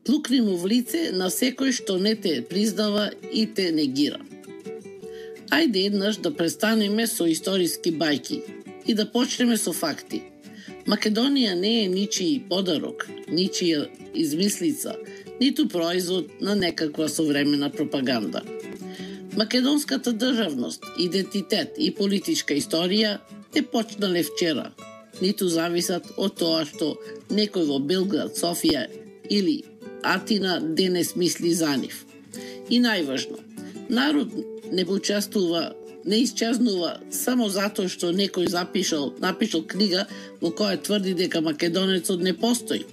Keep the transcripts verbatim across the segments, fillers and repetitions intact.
Плукни му в лице на секој што не те признава и те негира. Ајде еднаш да престанеме со историски бајки и да почнеме со факти. Македонија не е ничiji подарок, ничија измислица, ниту производ на некаква современа пропаганда. Македонската државност, идентитет и политичка историја не почнале вчера, ниту зависат од тоа што некој во Белград, Софија или Атина денес мисли за нив. И најважно, народ не учествува, не исчезнува само затоа што некој запишал, напишал книга во која тврди дека македонецот не постои.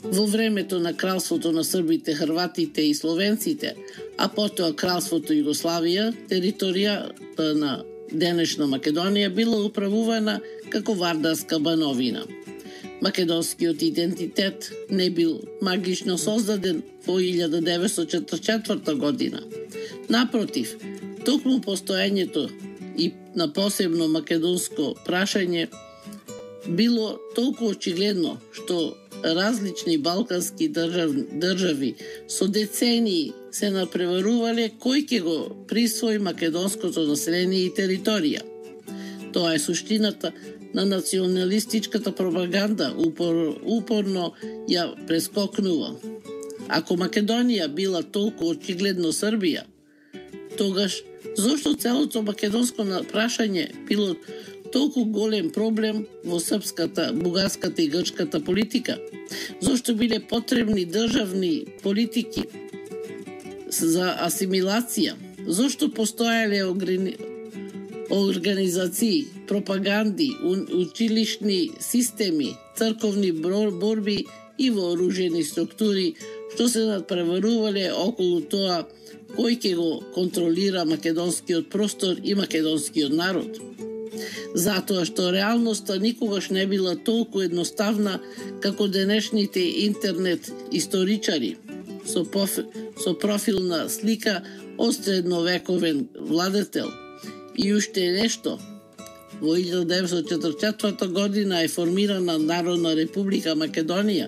Во времето на кралството на србите, хрватите и словенците, а потоа кралството Југославија, територијата на денешна Македонија била управувана како вардарска бановина. Македонскиот идентитет не бил магично создаден во илјада деветстотини четридесет и четврта година. Напротив, токму постоењето и на посебно македонско прашање било толку очигледно што различни балкански држав, држави со децении се напреварувале кој ќе го присвои македонското население и територија. Тоа е суштината на националистичката пропаганда, упор, упорно ја прескокнува. Ако Македонија била толку очигледно Србија, тогаш зошто целото македонско прашање било толку голем проблем во српската, бугарската и грчката политика? Зошто биле потребни државни политики за асимилација? Зошто постоеле организации, пропаганди, училишни системи, црковни борби и вооружени структури што се надпреварувале околу тоа кој ќе го контролира македонскиот простор и македонскиот народ? Затоа што реалноста никогаш не била толку едноставна како денешните интернет историчари со, поф... со профилна слика од средновековен владетел. И уште нешто. Во илјада деветстотини четридесет и четврта година е формирана Народна република Македонија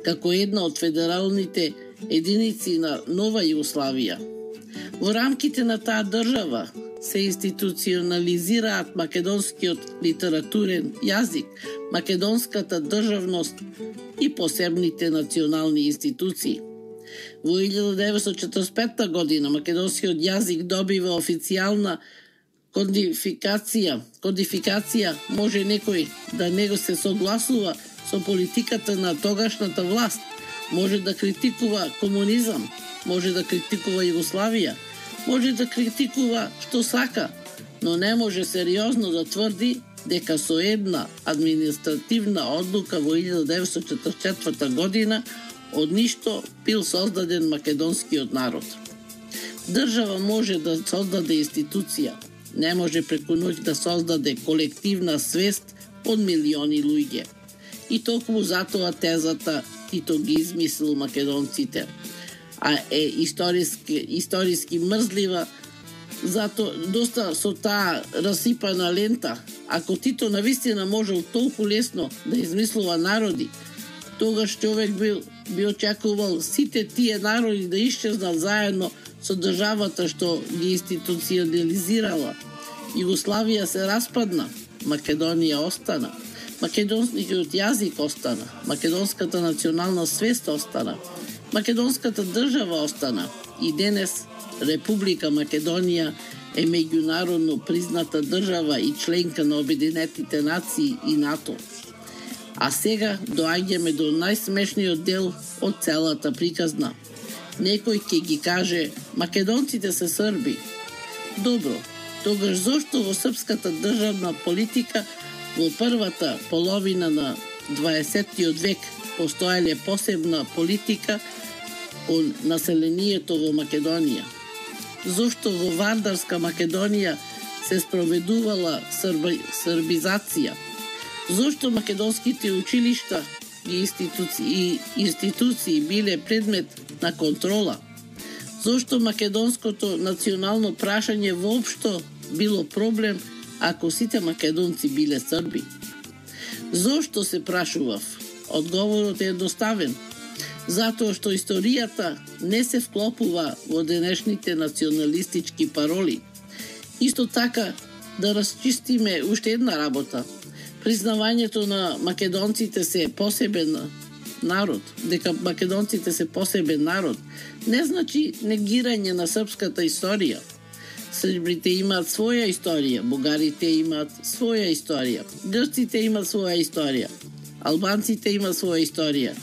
како една од федералните единици на нова Југославија. Во рамките на таа држава се институционализираат македонскиот литературен јазик, македонската државност и посебните национални институции. Во илјада деветстотини четридесет и петта година македонскиот јазик добива официјална кодификација. Кодификација може некој да него се согласува со политиката на тогашната власт, може да критикува комунизам, може да критикува Југославија, може да критикува што сака, но не може сериозно да тврди дека со една административна одлука во илјада деветстотини четридесет и четврта година од ништо бил создаден македонскиот народ. Држава може да создаде институција, не може преку ноќ да создаде колективна свест од милиони луѓе. И токму затоа тезата Тито ги измислил македонците, а е историски, историски мрзлива, зато доста со таа расипана лента. Ако Тито навистина можел толку лесно да измислува народи, тогаш човек бил, би очекувал сите тие народи да исчезнат заедно со државата што ги институционализирала. Југославија се распадна, Македонија остана. Македонскиот јазик остана, македонската национална свест остана, македонската држава остана и денес Република Македонија е меѓународно призната држава и членка на Обединетите нации и НАТО. А сега доаѓаме до најсмешниот дел од целата приказна. Некој ќе ги каже, македонците се срби. Добро, тогаш зошто во српската државна политика во првата половина на дваесеттиот век постоеле посебна политика од населението во Македонија? Зошто во вардарска Македонија се спроведувала срби, србизација? Зошто македонските училишта и институции, институции биле предмет на контрола? Зошто македонското национално прашање воопшто било проблем ако сите македонци биле срби? Зошто се прашував? Одговорот е едноставен. затоа што историјата не се вклопува во денешните националистички пароли. Исто така, да расчистиме уште една работа. Признавањето на македонците се посебен народ, дека македонците се посебен народ, не значи негирање на српската историја. Србите имаат своја историја, бугарите имаат своја историја, грците имаат своја историја, албанците имаат своја историја,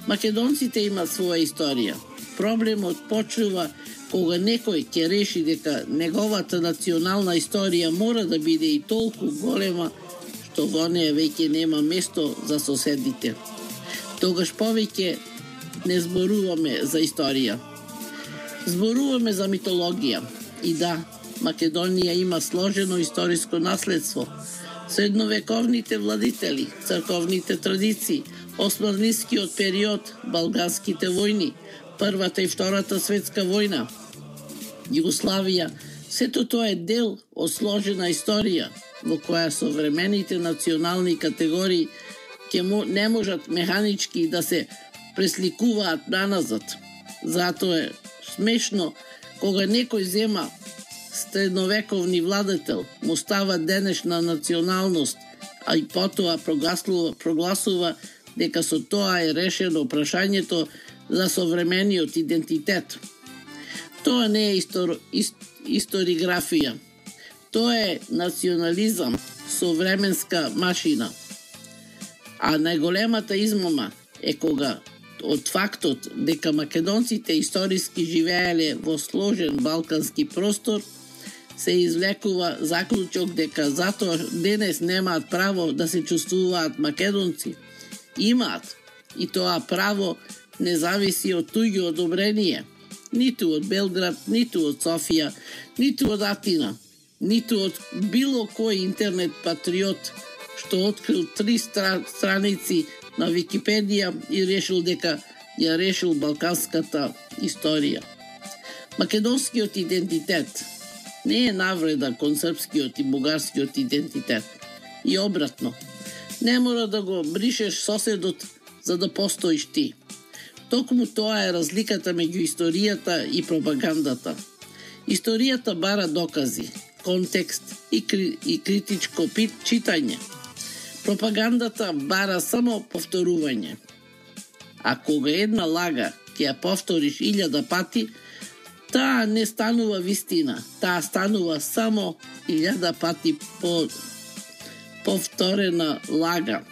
македонците имаат своја историја. Проблемот почнува кога некој ќе реши дека неговата национална историја мора да биде и толку голема што во неја веќе нема место за соседите. Тогаш повеќе не зборуваме за историја. Зборуваме за митологија. И да, Македонија има сложено историско наследство. Средновековните владители, црковните традиции, османлискиот период, балганските војни, Првата и Втората светска војна, Југославија, сето тоа е дел од сложена историја во која современите национални категории ќе не можат механички да се пресликуваат наназад. Затоа е смешно кога некој зема средновековни владетел, му става денешна националност, а и потоа прогласува, прогласува дека со тоа е решено прашањето за современиот идентитет. Тоа не е истор, ист, историграфија. Тоа е национализам со временска машина. А најголемата измама е кога од фактот дека македонците историски живееле во сложен балкански простор се извлекува заклучок дека затоа денес немаат право да се чувствуваат македонци. Имаат, и тоа право не зависи од туѓо одобрение, ниту од Белград, ниту од Софија, ниту од Атина, ниту од било кој интернет патриот што открил три стра... страници на Википедија и решил дека ја решил балканската историја. Македонскиот идентитет не е навреда кон српскиот и бугарскиот идентитет. И обратно, не мора да го бришеш соседот за да постоиш ти. Токму тоа е разликата меѓу историјата и пропагандата. Историјата бара докази, контекст и, кри... и критичко пит... читање. Пропагандата бара само повторување. А кога една лага ќе ја повториш илјада пати, таа не станува вистина, таа станува само илјада пати по повторена лага.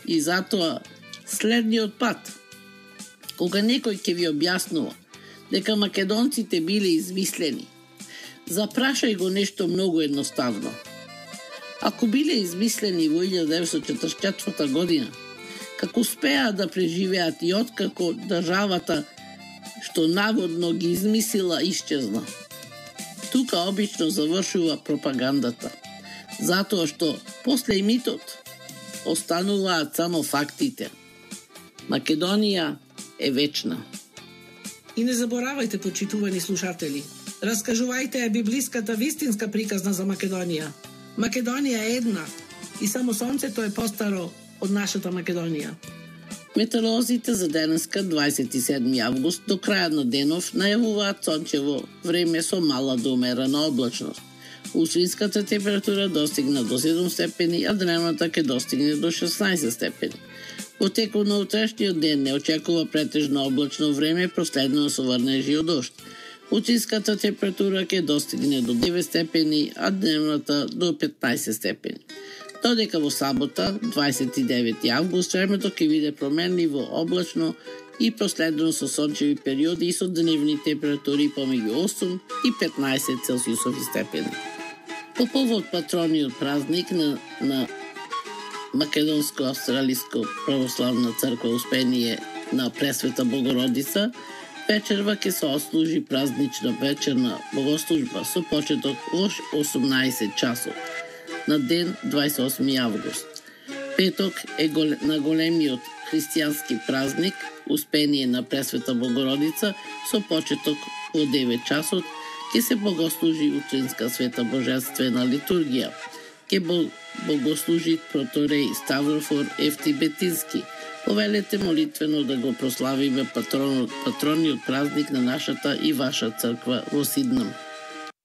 И затоа следниот пат, кога некој ќе ви објаснува дека македонците биле измислени, запрашај го нешто многу едноставно. Ако биле измислени во илјада деветстотини четрдесет и четврта година, како успеа да преживеат и откако државата што наводно ги измислила исчезна. Тука обично завршува пропагандата, затоа што после митот остануваат само фактите. Македонија е вечна. И не заборавајте, почитувани слушатели, раскажувајте ја библиската вистинска приказна за Македонија. Македонија е една и само сонцето е постаро од нашата Македонија. Метеоролозите за денеска, дваесет и седми август, до крајот на денов најавуваат сончево време со мала до умерена облачност. Утринската температура достигна до седум степени, а дневната ќе достигне до шеснаесет степени. Во текот на утрешниот ден не очекува претежно облачно време, проследено со врнежи од дожд. Утринската температура ќе достигне до девет степени, а дневната до петнаесет степени. Додека во сабота, дваесет и девети август, времето ќе биде променливо облачно и проследено со сончеви периоди и со дневни температури помеѓу осум и петнаесет целзиусови степени. По повод патрониот празник на, на Македонско-австралиско православна црква Успение на Пресвета Богородица, вечерва ќе се отслужи празнична вечерна богослужба со почеток во осумнаесет часот на ден дваесет и осми август. Петок е гол... на големиот христијански празник Успение на Пресвета Богородица со почеток во девет часот ќе се богослужи утринска света божествена литургија. Ќе богослужи протореј Ставрофор Евтибетински, Повелете молитвено да го прославиме патронот, патрониот празник на нашата и ваша црква во Сиднам.